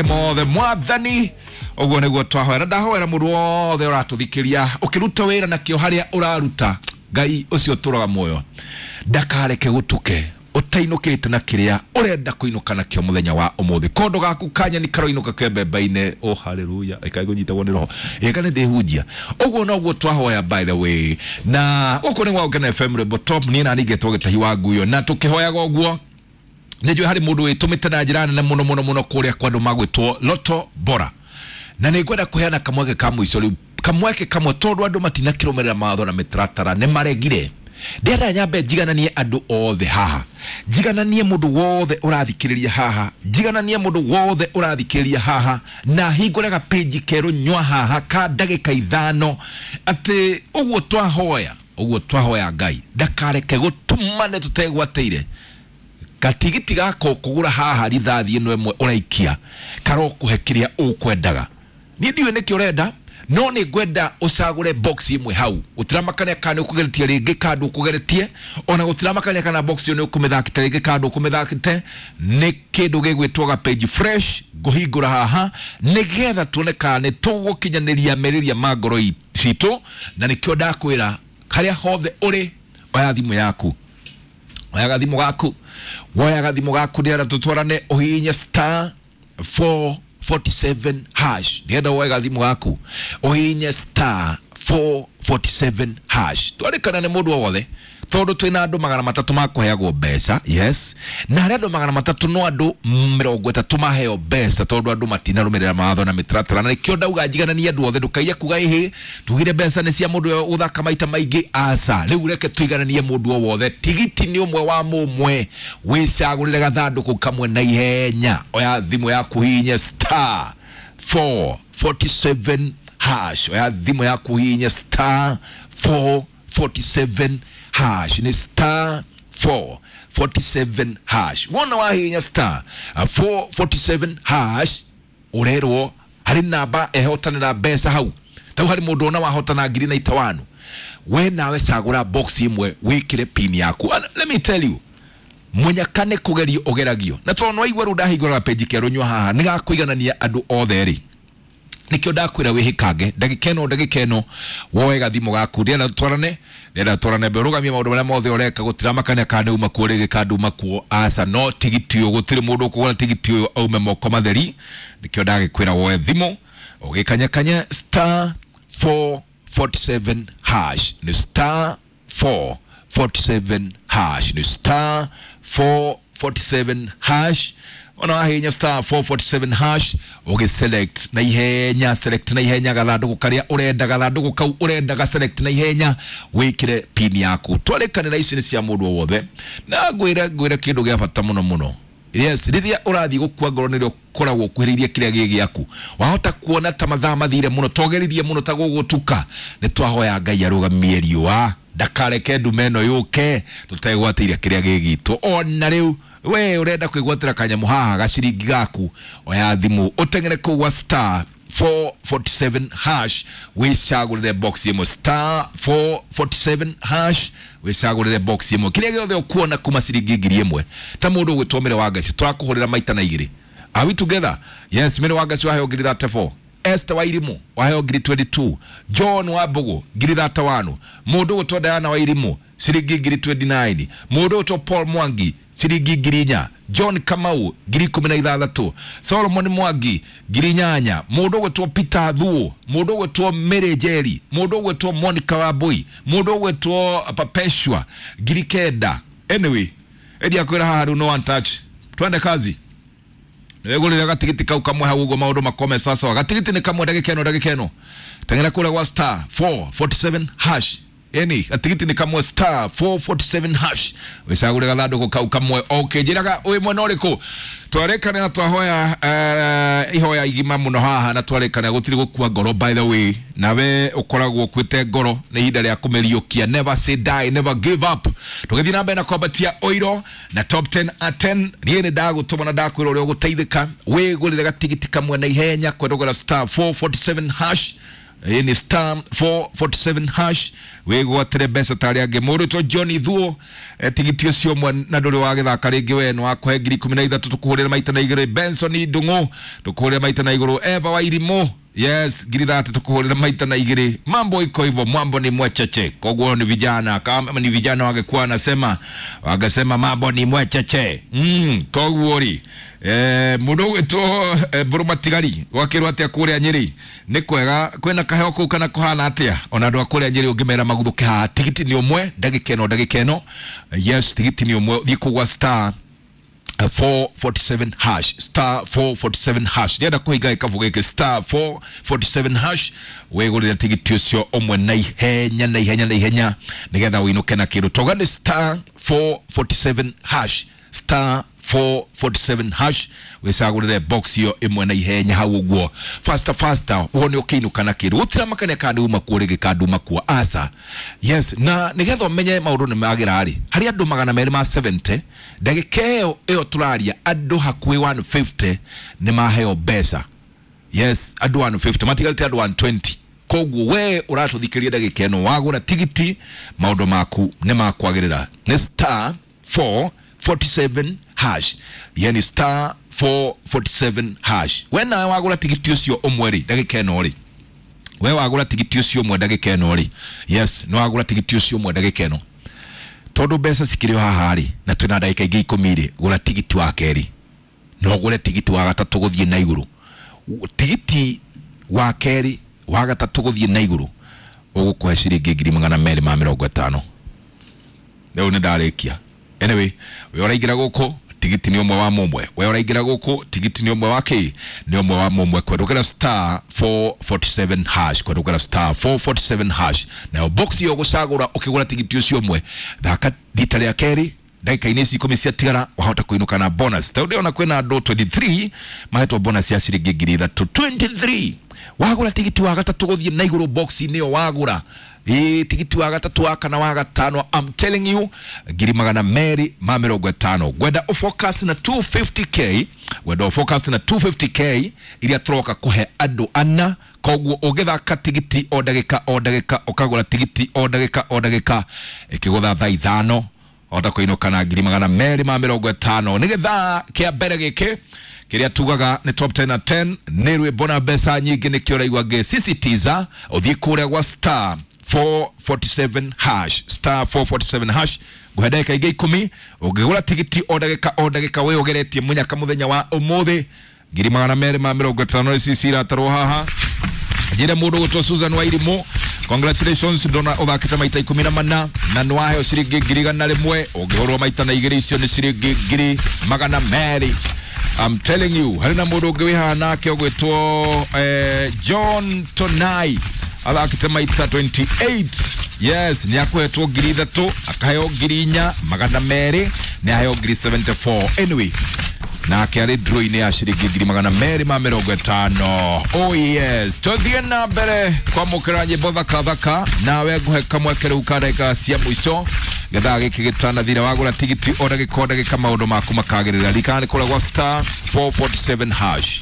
Mothe mwathani ũguo nĩguo twahoera. Ndahoera mũndũ wothe ũratũthikĩria ũkĩruta wĩra nakĩo harĩa ũraruta, Ngai ũcio ũtũraga muoyo ndakareke gũtuke ũtainũkĩte na kĩrĩa ũrenda kũinũka nakĩo mũthenya wa ũmũthĩ. Kondo gaku kanyeni karoinũka kembemba-inĩ. Oh, haleluya, ĩkaĩ kũnyitagwo nĩ roho ĩka nĩ ndĩhunjia. Ũguo noguo twahoya, by the way, na gũkũ nĩ gwa Gũkena FM, Rwĩmbo Top. Niĩ na ningĩtwo Gĩtahi wa Nguyo, na tũkĩhoyaga ũguo nĩ njũĩ harĩ mũndũ wĩtũmĩte na njĩra nene mũno mũno mũno kũrĩa kwa andũ magwĩtwo Loto Bora, na nĩ ngwenda kũheana kamweke ka mũico rĩu, kamweke kamwe, tondũ andũ matinakĩrũmĩrĩra mawatho na mĩtaratara, nĩ maregire. Ndĩrenda nyambe njigananie andũ othe haha, njigananie mũndũ wothe ũrathikĩrĩria haha, njigananie mũndũ wothe ũrathikĩrĩria haha, na hingũre gapĩnji kerũ nywa haha ka ndagĩka 5, atĩ ũguo twahoya, ũguo twahoya Ngai ndakareke gũtumane tũtegwatĩire gatigiti gaka ũkũgũra haha. Rithathi ĩno ĩmwe ũraikia karokũhe kĩrĩa ũkwendaga. Niĩ ndiũĩ nĩkĩ ũrenda, no nĩ ngwenda ũcagũre box ĩmwe hau. Gũtiramakania kana nĩ ũkũgeretie rĩngĩ kana ndũkũgeretie, ona gũtiramakania kana box ĩyo nĩ ũkũmĩthakĩte rĩngĩ kana ndũkũmĩthakĩte. Nĩ kĩndũ gĩgwĩtwo ga page fresh ngũhingũra haha, nĩgetha tuone kana nĩ tũgũkinyanĩria merirĩria ma ngoro citũ. Na nĩkĩo ndakwĩra, harĩa hothe ũrĩ, oya thimũ yaku, oya gathimũ gaku, woya gathimũ gaku, nĩgetha tũtwarane, ũhihinye star 447 hash. Nĩgetha woe gathimũ gaku, ũhihinye star 447 hash. Twarĩkana nĩ mũndũ o wothe, tondũ twĩna andũ 300 makũheagwo mbeca. Yes, na harĩ andũ 300, no andũ 30 maheo mbeca, tondũ andũ matinarũmĩrĩra mawatho na mĩtaratara. Na nĩkĩo ndauga njigananie andũ othe. Ndũkaiye kuga ĩhĩ tugire mbeca nĩ cia mũndũ ũrĩa ũgũthaka maita maingĩ. Aca, rĩu reke tũigananie mũndũ o wothe. Tigiti nĩ ũmwe wa mũmwe, wĩcagũrĩre gathandũkũ kamwe na ihenya. Oya thimũ yaku, hihinye star 447 hash. Oya thimũ yaku, hihinye star 447 hash. Nĩ star 447 hash. Wona wahihinya star 447 hash, ũrerwo harĩ namba ehotanĩra mbeca hau. Tau harĩ mũndũ ona wahotana ngiri na itawanu. We nawe cagũra box ĩmwe, wĩkĩre pin yaku. And let me tell you, mũnyaka nĩ kũgerio ũgeragio, na tondũ nĩwaigua rĩu ndahingũra peji kerũ nyua haha nĩ gakũiganania andũ othe rĩ, nikio ndakwĩra wĩhĩkange ndagĩka ĩno, ndagĩka ĩno woe gathimũ gaku. Ndĩrenda twarane, ndĩrenda twarane mbere, ũrũgamie maũndũ marĩa mothe ũreka. Gũtiramakania kana nĩ uma kuo rĩngĩ kana nduma kuo, aca, no tigiti ũyũ, gũtirĩ mũndũ ũkũgũra tigiti ũyũ aume moko matheri. Nĩkĩo ndagĩkwĩra woe thimũ, ũgĩkanyakanya star 447 hash. Nĩ star 447 hash, nĩ star 447 hash. Ona wahinya star 447 hash, ũgĩselect na ihenya, select na ihenya gathandũkũ karĩa ũrenda, gathandũkũ kau ũrendaga, select na ihenya, wĩkĩre pin yaku. Twarĩkanĩra ici nĩ cia mũndũ o wothe, na ngwĩre kĩndũ gĩa bata mũno mũno. Yes, rĩrĩa ũrathiĩ gũkua ngoro nĩrĩo ũkoragwo ũkuhĩrĩirie kĩrĩa gĩ gĩaku. Wahota kuona ta mathaa mathire mũno, togeririe mũno ta gũgũtuka. Nĩ twahoya Ngai arũgamie riũa, ndakareke ndume ĩno yũke tũtegwatĩire kĩrĩa gĩ gitũ. Ona rĩu we ũrenda kwĩgwatĩra kanyamũ haha gaciringi gaku, oya thimũ, ũteng'ere kũu gwa star 447 hash, wĩcagũrĩre box ĩmwe. Star 447 hash, wĩcagũrĩre box ĩmwe, kĩrĩa gĩothe ũkuona kuma ciringi 1000. Ta mũndũ ũgwĩtwo Mĩrĩ wa Ngaci, tũrakũhũrĩra maita na igĩrĩ. Are we together? Yes, Mĩrĩ wa Ngaci waheo ngiri 34, Esther wa Irimu waheo ngiri 22, John wa Mbugu ngiri 31, mũndũ ũgwĩtwo Diana wa Irimu ciringi ngiri 29, mũndũ ũgwĩtwo Paul Mwangi ciringi ngiri 4, John Kamau ngiri 16, Solomon Mwangi ngiri 8, mũndũ ũgwĩtwo Peter Thuo, mũndũ ũgwĩtwo Mary Njeri, mũndũ ũgwĩtwo Monica Wambui, mũndũ ũgwĩtwo Perpetua ngiri 9. Anyway, ĩndi akwĩra haha rĩu no one touch, twende kazi. Wegũrĩra gatigiti kau kamwe hau ũguo, maũndũ makome sawa. Gatigiti nĩ kamwe. Ndagĩka ĩno, ndagĩka ĩno, teng'era kũrĩa gwa star 447 hash. Eni gatigiti nĩ kamwe, star 447 hash, wĩcagũre gathandũkũ kau kamwe. Okay, njĩraga wĩ mwena ũrĩkũ. Twarĩkana na twahoya ihoya igima mũno haha, na twarĩkana gũtirĩ gũkua ngoro. By the way, nawe ũkoragwo ũkuĩte ngoro, nĩ ihinda rĩa kũmĩriũkia. Never say die, never give up. Tũgĩthiĩ na mbere na kwambatia ũiro na top 10 at 10. Niĩ nĩ ndagũtũma na ndakwĩra ũrĩa ũgũteithĩka. Wĩgũrĩre gatigiti kamwe na ihenya kwendogera star 447 hash. Ni star 447 hash wigwatire mbeca tarĩ angĩ. Mũndũ John Thuo, tigiti ũcio ũmwe na ndũrĩ wagĩthaka rĩngĩ, we nĩ wakũhe 13,000, tũkũhũrĩra maita na igĩrĩ. Benson Ndung'u, tũkũhũrĩra maita na igũrũ. Eva Wairimũ, yes, 30,000, tũkũhũrĩra maita na igĩrĩ. Mambo iko hivyo, mambo ni mwecheche. Koguo ni vijana, kama ni vijana wangekuwa wanasema, wangesema mambo ni mwecheche. Koguo ri mundu ugwitwo Mburu Matigari gwakirwo atia kuria Nyeri? Ni kwega, kwina kaheo kuu kana kuhana atia? Ona andu a kuria Nyeri ungimera maguthuke haha, tigiti ni umwe ndagika ino, ndagika ino. Yes, tigiti ni umwe, thiĩ kũgwa star 447 hash, star 447 hash. Ndĩrenda kũhinga gĩkabu gĩkĩ, star 447 hash, wĩgũrĩre tigiti ũcio ũmwe na ihenya, na ihenya, na ihenya, nĩgetha ũinũke na kĩndũ. Toga nĩ star 447 hash, star 447 hash, wĩcagũrĩre box ĩyo ĩmwe na ihenya hau ũguo, faster faster, wone ũkĩinũka na kĩndũ. Gũtiramakania kana nduma kuo rĩngĩ kana nduma kuo, aca. Yes, na nĩgetha ũmenye maũndũ nĩ magĩra rĩ, harĩ andũ 270 ndagĩka ĩyo tũraria, andũ hakuhĩ 150 nĩ maheo mbeca. Yes, andũ 150, matigarĩte andũ 120. Koguo we ũratũthikĩria ndagĩka ĩno, wagũra tigiti maũndũ maku nĩ makwagĩrĩra. Nĩ star 447 hash, yani star 447 hash. We nawe wagũra tigiti ũcio ũmwe rĩ, ndagĩka ĩno rĩ, we wagũra tigiti ũcio ũmwe ndagĩka ĩno rĩ, yes, nĩ wagũra tigiti ũcio ũmwe ndagĩka ĩno, tondũ mbeca cikĩrĩ o haha rĩ, na twĩna ndagĩka ingĩ 10 rĩ, gũra tigiti wa kerĩ, no ũgũre tigiti wa gatatũ gũthiĩ na igũrũ. Tigiti wa kerĩ, wa gatatũ gũthiĩ na igũrũ, ũgũkũhe ciringi 250,000. Rĩu nĩ ndarĩkia. Anyway, we ũraingĩra gũkũ, tigiti nĩ ũmwe wa mũmwe. We ũraingĩra gũkũ, tigiti nĩ ũmwe wa kĩ? Nĩ ũmwe wa mũmwe. Kwendũkĩra star 447 hash, kwendũkĩra star 447 hash. Nayo box ĩyo ũgũcagũra ũkĩgũra tigiti ũcio ũmwe, thaka rita rĩa kerĩ ndagĩka-inĩ ici 10 ciatigara, wahota kũinũka na bonus. Tondũ ndĩrona kwĩna andũ 23 mahetwo bonus ya ciringi 3,000. 23 wagũra tigiti wa gatatũ gũthiĩ na igũrũ, box-inĩ ĩyo wagũra, ĩ tigiti wa gatatũ, wa kana, wa gatano, I'm telling you, 250,000. Ngwenda ũfocus na 250K, ngwenda ũfocus na 250K iria tũroka kũhe andũ ana. Koguo ũngĩthaka tigiti o ndagĩka o ndagĩka, ũkagũra tigiti o ndagĩka o ndagĩka, ĩkĩgũtha thaa 5 ota kũinũka na 250,000. Nĩ gĩthaa kĩa mbere gĩkĩ kĩrĩa tugaga nĩ top 10 na 10, nĩ rwĩmbo na mbeca nyingĩ, nĩkĩo ũraigua ngĩsisitiza ũthiĩ kũrĩa gwa star 447 hash, star 447 hash. Nguhe ndagĩka ingĩ 10, ũngĩgũra tigiti o ndagĩka o ndagĩka, wĩ ũgeretie mũnyaka mũthenya wa ũmũthĩ, 250,000 ici ciratarwo haha. Njĩre mũndũ gũtwo Susan Wairimũ, congratulations, ndona ũthakĩte maita 14 na nĩwaheo ciringi 100,000. Ũngĩhũrwo maita na igĩrĩ, icio nĩ ciringi 200,000. I'm telling you, harĩ na mũndũ ũngĩ wĩ haha nake ũgwĩtwo John Tonai, athakĩte maita 28. Yes, nĩ akũhetwo 3,000, akaheo 4,200, nĩ aheo 74. Anyway, nake arĩ draw-inĩ ya ciringi 250,000. Oh yes, tũthiĩ na mbere kwamũkĩra nyĩmbo thaka thaka, nawe ngũhe kamweke rĩu ka ndagĩka cia mũico gĩthaa gĩkĩ gĩtanathira. Wagũra tigiti o ndagĩka o ndagĩka, maũndũ maku makagĩrĩra. Ririkana nĩ kũrĩa gwa star 447 hash.